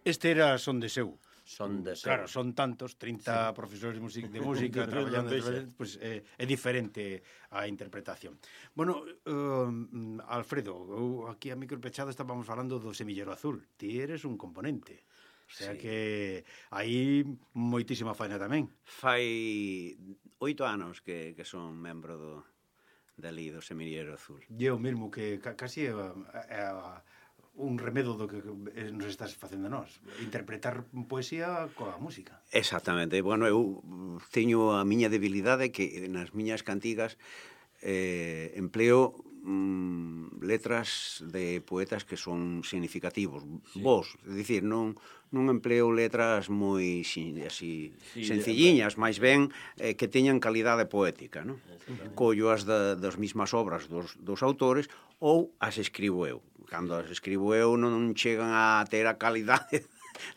Este era Son de Seu. Son de Seu. Claro, son tantos, 30 profesores de música traballando, pues, é diferente a interpretación. Bueno, Alfredo, aquí a micro pechado estábamos falando do Semillero Azul. Ti eres un componente. O sea que hai moitísima faena tamén. Fai 8 anos que son membro do Semillero Azul. E o mesmo que casi é un remedo do que nos estás facendo nós, interpretar poesía coa música. Exactamente. Bueno, eu teño a miña debilidade que nas miñas cantigas empleo letras de poetas que son significativos, vos, é dicir, non empleo letras moi así sencilliñas, máis ben que teñan calidade poética, non? Collo as das mismas obras dos autores ou as escribo eu. Cando as escribo eu non chegan a ter a calidade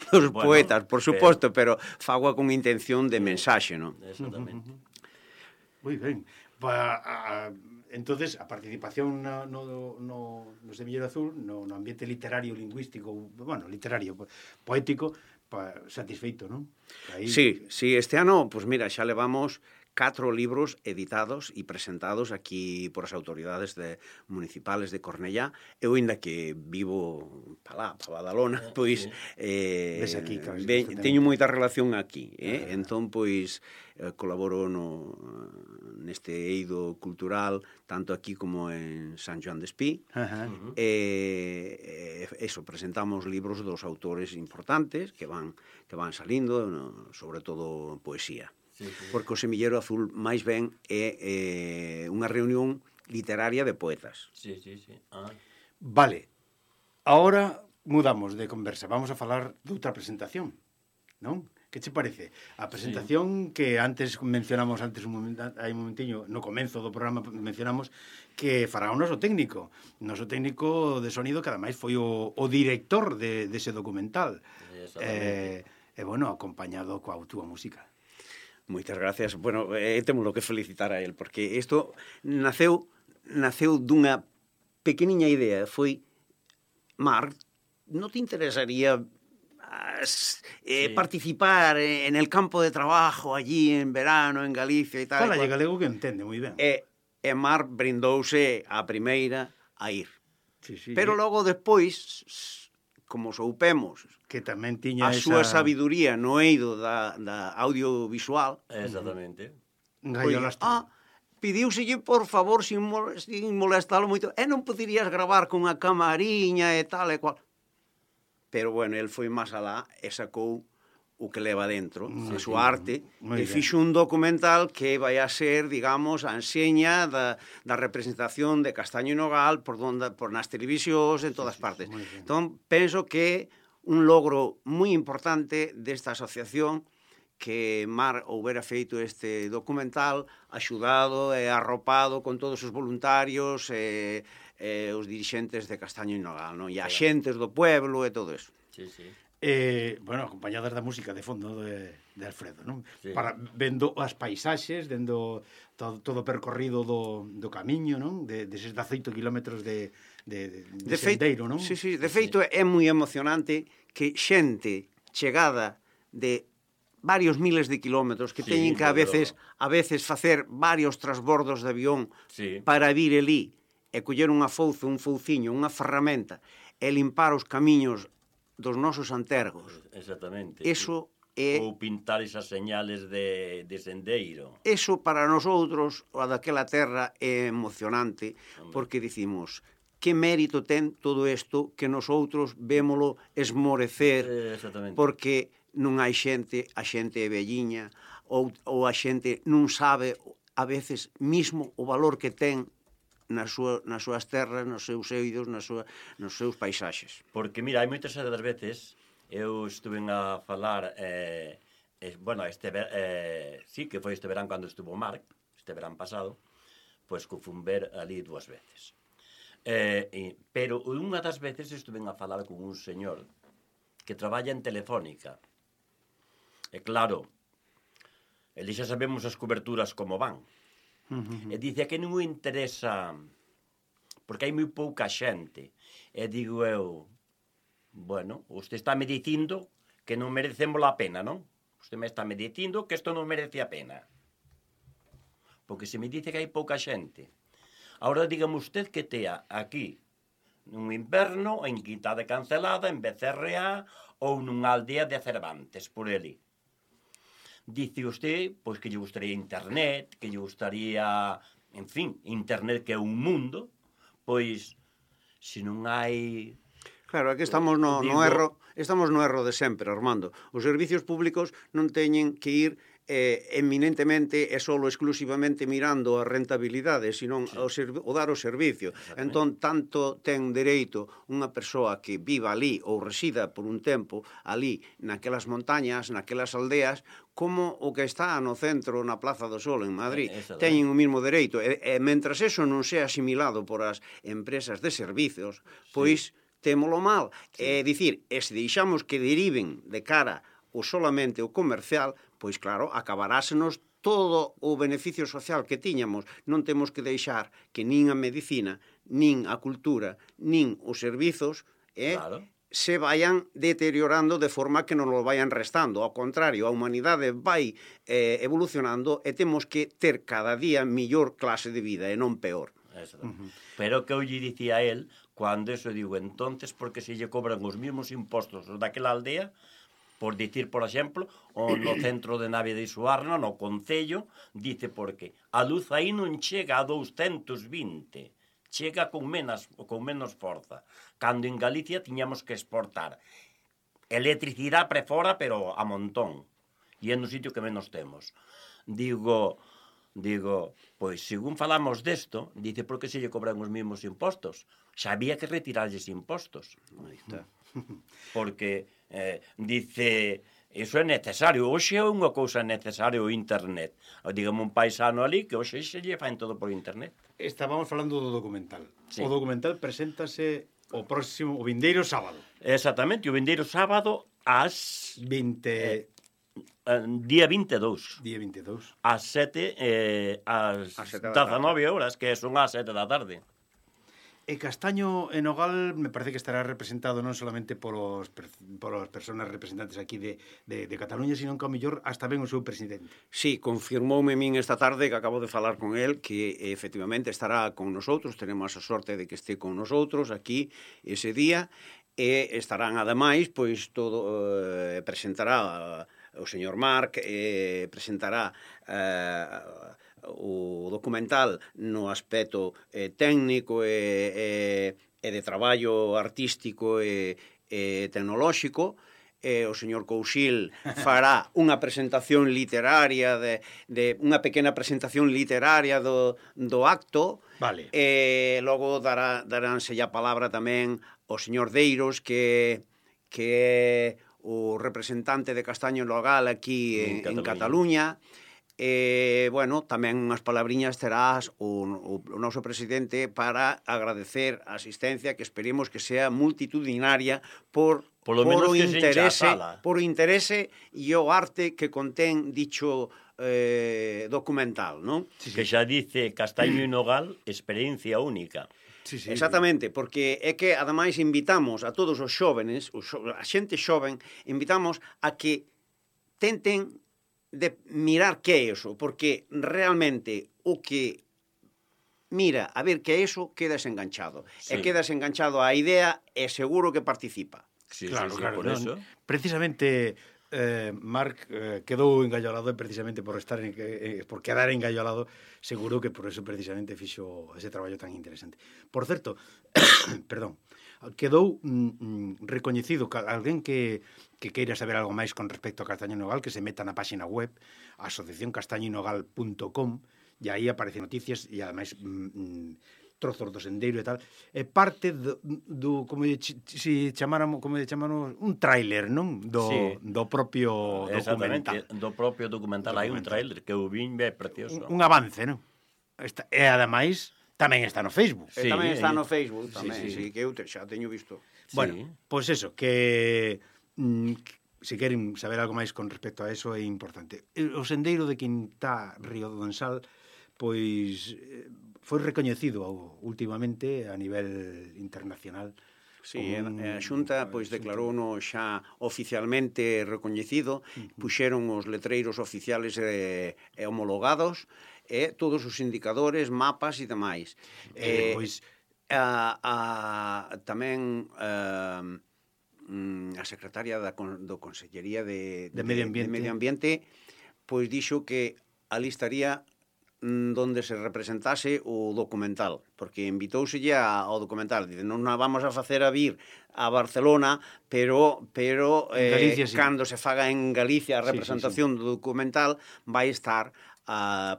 dos poetas, por suposto, pero fago con intención de mensaxe, non? Exactamente. Moi ben. Entonces, a participación no Semillero Azul, no ambiente literario, lingüístico, bueno, literario, poético, satisfeito, non? Aí... Sí, este ano, pues mira, xa levamos 4 libros editados e presentados aquí por as autoridades municipales de Cornellá. Eu, ainda que vivo pa Badalona, pois aquí, claro, teño moita relación aquí, entón, pois, colaboro neste eido cultural, tanto aquí como en San Joan de Espí. Eso, presentamos libros dos autores importantes que van salindo, sobre todo poesía. Porque o Semillero Azul máis ben é unha reunión literaria de poetas. Sí. Vale, ahora mudamos de conversa, vamos a falar de outra presentación, non? Que che parece? A presentación que antes mencionamos, hai un momentiño, no comenzo do programa mencionamos que fará o noso técnico de sonido, que ademais foi o director dese documental. E bueno, acompañado coa túa música. Moitas gracias. Bueno, témolo que felicitar a él, porque isto naceu dunha pequeniña idea. Foi, Marc, non te interesaría participar en el campo de trabajo allí en verano, en Galicia e tal? Fala galego que entende moi ben. E Marc brindouse a primeira a ir. Sí. Pero logo despois, como soupemos que tamén tiña a súa sabiduría no eido da audiovisual, exactamente, pidiuselle, por favor, sin molestalo moito, non poderías gravar con a camariña e tal e cual. Pero, bueno, el foi máis alá e sacou o que leva dentro, a súa arte, e fixo un documental que vai a ser, digamos, a enseña da representación de Castaño e Nogal por nas televisións, en todas partes. Entón, penso que un logro moi importante desta asociación que Mar houbera feito este documental, axudado e arropado con todos os voluntarios e os dirixentes de Castaño e Nogal, e a xentes do pueblo e todo eso. Sí. Bueno, acompañadas da música de fondo de Alfredo, non? Vendo as paisaxes, vendo todo o percorrido do camiño, non? Deses 18 kilómetros de sendeiro, non? Sí, de feito é moi emocionante que xente chegada de varios miles de kilómetros que teñen que a veces facer varios transbordos de avión para vir elí e coller unha fouce, un fouciño, unha ferramenta e limpar os camiños dos nosos antergos. Exactamente. Eso é... Ou pintar esas señales de sendeiro. Eso para nosotros, a daquela terra, é emocionante, porque dicimos, que mérito ten todo isto que nosotros vémolo esmorecer, porque non hai xente, a xente é velliña, ou a xente non sabe, a veces, mismo o valor que ten nas súas terras, nos seus eidos, nos seus paisaxes. Porque, mira, hai moitas das veces, eu estuve a falar, sí, que foi este verán cando estuvo Marc, este verán pasado, pois que fun ver ali 2 veces. Pero unha das veces estuve a falar con un señor que traballa en Telefónica. E claro, ele xa sabemos as coberturas como van. E dice que non me interesa porque hai moi pouca xente. E digo eu, Bueno, usted está me dicindo que non merecemos a pena, non? Usted me está me dicindo que isto non merece a pena. Porque se me dice que hai pouca xente. Ahora dígame usted que tea aquí nun inverno, en Quinta de Cancelada, en Becerreá ou nunha aldea de Cervantes, por ali. Dice usted, pois que lle gustaría internet, que lle gustaría, en fin, internet que é un mundo, pois, se non hai... Claro, aquí estamos no erro de sempre, Armando. Os servicios públicos non teñen que ir eminentemente e solo exclusivamente mirando a rentabilidade, senón o dar o servicio. Entón, tanto ten dereito unha persoa que viva ali ou resida por un tempo ali, naquelas montañas, naquelas aldeas, como o que está no centro, na Plaza do Sol, en Madrid. Teñen o mismo dereito. E mentras eso non sea asimilado por as empresas de servicios, pois témolo mal. É dicir, e se deixamos que deriven de cara ou solamente o comercial, pois claro, acabarásenos todo o beneficio social que tiñamos. Non temos que deixar que nin a medicina, nin a cultura, nin os servizos se vayan deteriorando de forma que non lo vayan restando. Ao contrario, a humanidade vai evolucionando e temos que ter cada día mellor clase de vida e non peor. Pero que eu lle dicía a él, cando eso digo, entonces, porque se lle cobran os mesmos impostos os daquela aldea, por dicir, por exemplo, o no centro de Navia de Suarna, no Concello, dice porque a luz aí non chega a 220, chega con menos forza. Cando en Galicia tiñamos que exportar electricidade pre fora, pero a montón. E é no sitio que menos temos. Digo, pois, según falamos desto, dice, por que se lle cobran os mesmos impostos? Xa había que retirarlles impostos. Aí está. Porque, dice, iso é necesario. Hoxe é unha cousa necesaria o internet. Dígame un paisano ali que hoxe se lle faen todo por internet. Estábamos falando do documental. Sí. O documental preséntase o vindeiro sábado. Exactamente, o vindeiro sábado ás... Día 22. Día 22. Ás 7, ás 19 horas, que son ás 7 da tarde. E Castaño e Nogal me parece que estará representado non solamente por as persoas representantes aquí de Cataluña, sino que ao mellor hasta ben o seu presidente. Sí, confirmoume min esta tarde que acabo de falar con el que efectivamente estará con nosotros, tenemos a sorte de que este con nosotros aquí ese día e estarán ademais, pois todo presentará o señor Marc, presentará o documental no aspecto técnico e de traballo artístico e tecnolóxico. O señor Couchil fará unha presentación literaria unha pequena presentación literaria do acto. Vale. E logo daránse a palabra tamén ao señor Deiros que é o representante de Castaño Nogal aquí en Cataluña. Bueno, tamén unhas palabriñas terás o noso presidente para agradecer a asistencia que esperemos que sea multitudinaria por o interese e o arte que contén dicho documental, non? Sí. Que xa dice Castaño e Nogal, experiencia única. Sí. Exactamente, porque é que ademais invitamos a todos os xóvenes, a xente xoven, invitamos a que tenten de mirar que é eso, porque realmente o que mira a ver que é eso, quedas enganchado. Sí. E quedas enganchado á idea e seguro que participa. Sí, claro, por eso. Precisamente Marc quedou engallolado precisamente por quedar engallolado, seguro que por eso precisamente fixo ese traballo tan interesante. Por certo, perdón, quedou recoñecido alguén que queira saber algo máis con respecto a Castaño Nogal, que se meta na páxina web asociacioncastañonogal.com e aí aparecen noticias e ademais trozos do sendeiro e tal, é parte do como se chamáramos un tráiler, non? Do propio documental. Do propio documental hai un tráiler que o vin é precioso. Un avance, non? E ademais tamén está no Facebook. Sí, tamén está no Facebook, tamén, sí, que eu xa teño visto. Bueno, pois eso, que se queren saber algo máis con respecto a eso é importante. O sendeiro de Quintá Río do Donsal, pois foi recoñecido últimamente a nivel internacional Sí, a Xunta pois declarouno xa oficialmente recoñecido, puxeron os letreiros oficiales e homologados, e todos os indicadores, mapas e demais. Pois Tamén a secretaria do Consellería de Medio Ambiente. de Medio Ambiente pois dixo que ali estaría donde se representase o documental, porque invitóuselle ao documental, dice, non a vamos a facer a vir a Barcelona, pero Galicia, sí. cando se faga en Galicia a Sí, representación do documental vai estar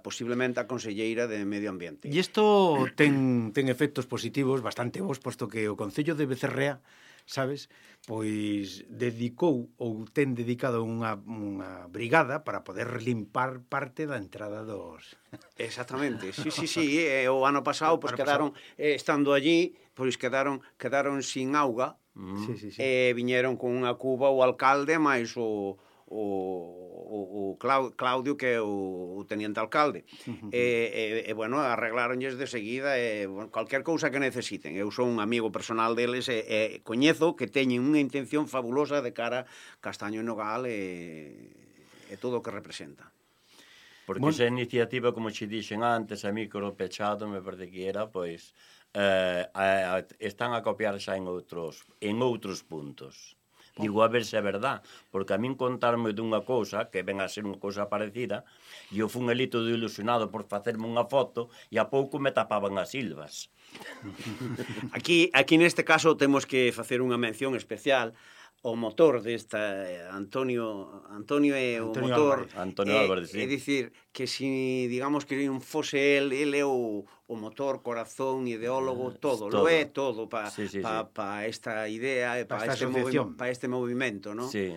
posiblemente a Conselleira de Medio Ambiente. E isto ten efectos positivos bastante bons, posto que o Concello de Becerrea, sabes, pois dedicou ou ten dedicado unha brigada para poder limpar parte da entrada dos... Exactamente, sí, o ano pasado pois Ano quedaron estando allí, pois quedaron sin auga. Sí. E viñeron con unha cuba o alcalde máis o Claudio, que é o teniente alcalde. Bueno, arregláronlles de seguida, cualquier cousa que necesiten. Eu son un amigo personal deles e coñezo que teñen unha intención fabulosa de cara Castaño e Nogal e todo o que representa. Porque esa iniciativa, como che dixen antes, a micro pechado, me parece que era, pois, están a copiar xa en outros puntos. Digo, a ver se é verdad, porque a min contarme dunha cousa, que ven a ser unha cousa parecida, e eu fun ali todo ilusionado por facerme unha foto, e a pouco me tapaban as silvas. Aquí neste caso temos que facer unha mención especial o motor desta Antonio é o motor. Antonio Álvarez, sí. É dicir, que si digamos que non fose el é o motor, corazón, ideólogo, todo, lo é todo para esta idea, para este movimento, ¿no? Sí.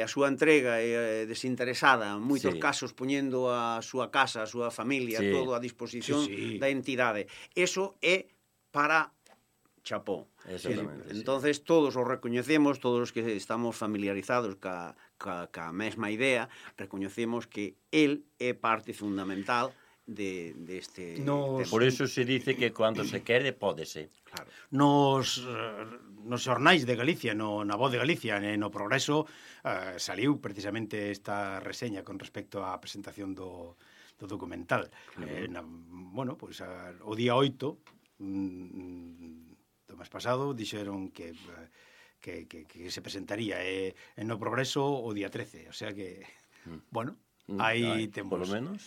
A súa entrega desinteresada, en moitos casos poñendo a súa casa, a súa familia, todo a disposición da entidade. Eso é para chapó. Exactamente. Entonces todos os recoñecemos, todos os que estamos familiarizados ca mesma idea, recoñecemos que el é parte fundamental deste tema. Por eso se dice que cando se quere, pódese. Claro. Nos xornais de Galicia, na Voz de Galicia, no Progreso, saliu precisamente esta reseña con respecto á presentación do documental. Bueno, pois o día 8 do mes pasado dixeron que se presentaría no Progreso o día 13, o sea que, bueno, aí temos... Por lo menos.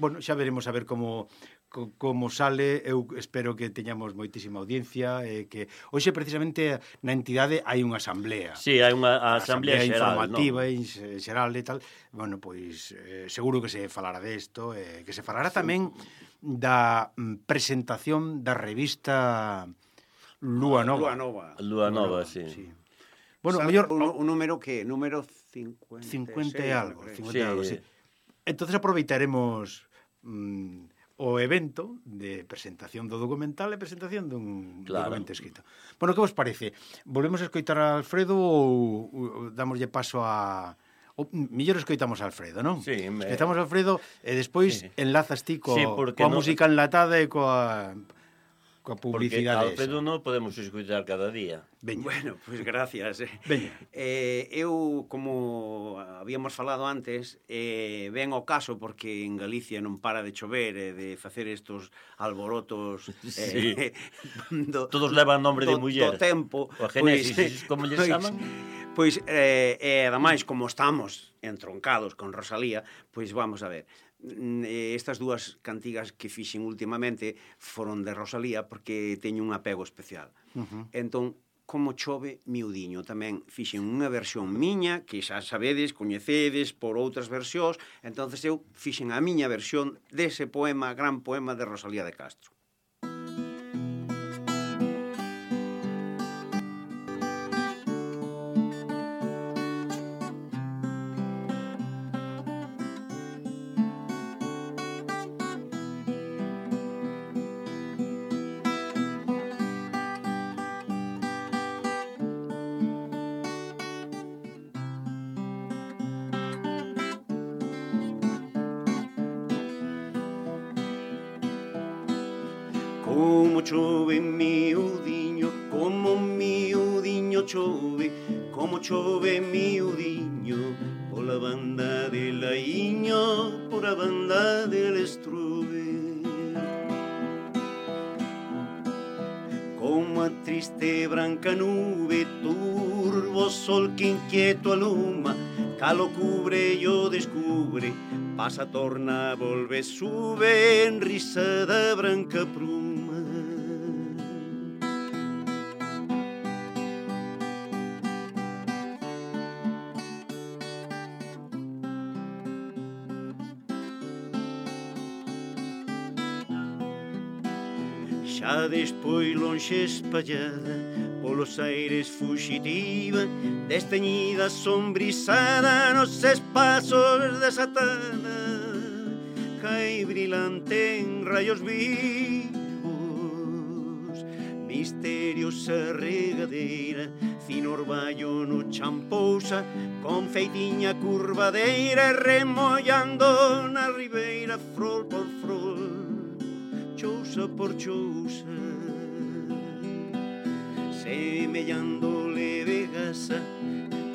Bueno, xa veremos a ver como sale. Eu espero que teñamos moitísima audiencia, que hoxe precisamente na entidade hai unha asamblea. Sí, hai unha asamblea xeral, informativa e xeral e tal. Bueno, pois seguro que se falará desto, que se falará tamén da presentación da revista Lúa Nova. Lúa Nova, sí. Bueno, mellor un número que número 50 e algo, sí. Entonces aproveitaremos o evento de presentación do documental e presentación dun documento escrito. Bueno, que vos parece? Volvemos a escoitar a Alfredo ou damoslle paso a... Mellor escoitamos a Alfredo, non? Sí. Escoitamos a Alfredo e despois enlazas ti coa música enlatada e coa publicidade. Porque Alfredo non podemos escoitar cada día. Veña. Bueno, pois gracias. Veña. Eu, como habíamos falado antes, ven ao caso porque en Galicia non para de chover e de facer estos alborotos todos levan nombre de muller. Do tempo. O Génesis, como lle chaman? Pois, ademais, como estamos entroncados con Rosalía, pois vamos a ver. Estas dúas cantigas que fixen últimamente foron de Rosalía porque teño un apego especial. Entón, como chove miudiño, tamén fixen unha versión miña que xa sabedes, coñecedes por outras versións, entonces eu fixen a miña versión dese poema, gran poema de Rosalía de Castro. Como chove miudiño como miudiño chove, como chove miudiño, pola banda de Laiño, por a banda del Estrube. Como a triste branca nube, turbo sol que inquieto aluma, calo cubre e o descubre, pasa, torna, volve, sube, en risa da branca pruma. Xa despois lonxe espallada, polos aires fuxitiva, desteñida, sombrizada, nos espazos desatada, cae brilante en rayos vivos, misteriosa regadeira, fino orballo no champousa, con feitiña curvadeira, remollando na ribeira, frol por frol, chousa por chousa, semellando leve gasa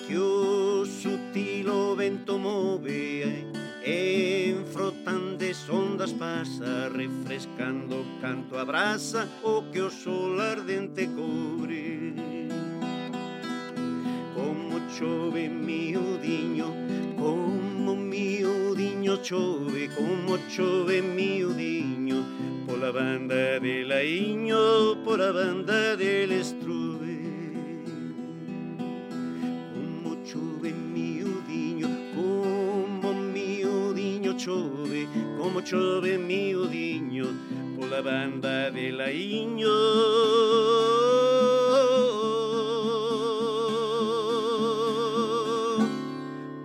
que o sutil o vento move, en frotantes ondas pasa, refrescando canto abraza o que o sol ardente cobre. Como chove miudiño, como miudiño chove, como chove miudiño, pola banda de Laiño, pola banda del Estrube. Como chove miudiño, como miudiño chove, como chove miudiño, pola banda de Laiño,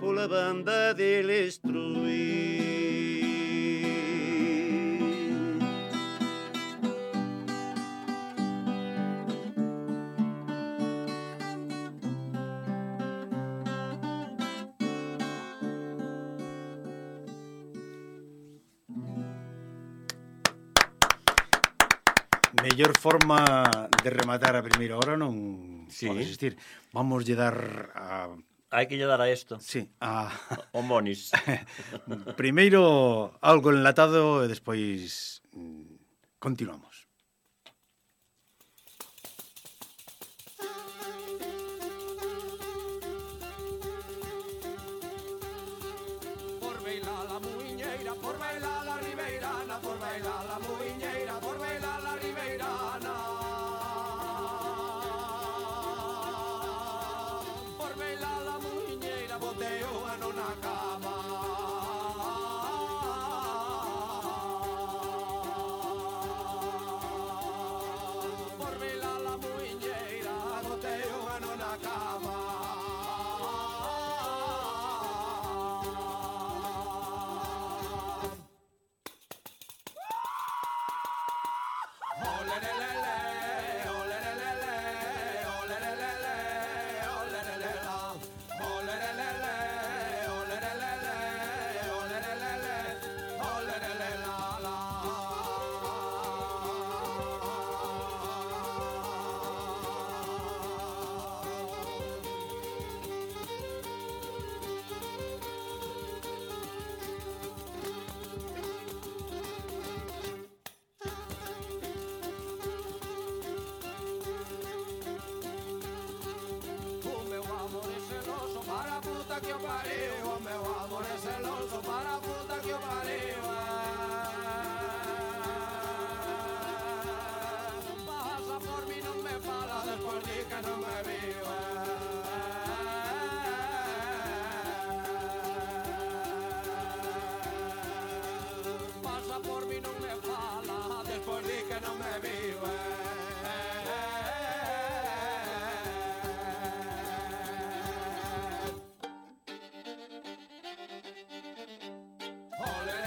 pola banda del Estrube. Mellor forma de rematar a primeira hora non Sí. pode existir. Vamos lle dar a... Hai que lle dar a isto. Sí, a... O Monis. Primeiro algo enlatado e despois continuamos. Por bailar la muiñeira, por bailar la ribeirana, por bailar la muiñeira, por bailar la ribeirana. Por bailar la muiñeira, boteo a nona cama. Por bailar la muiñeira, boteo a nona cama. O meu amor é celoso para a puta que eu pariu. O meu amor é celoso para a puta que eu pariu. Passa por mim, não me fala depois de que não me viu. Passa por mim, não me fala depois de que não me viu. Olé,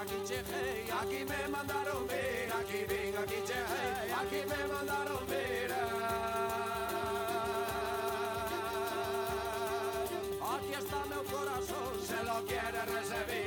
aquí cheguei, aquí me mandaron vir, aquí vin, aquí cheguei, aquí me mandaron vir. Aquí está meu corazón, se lo quiere recibir.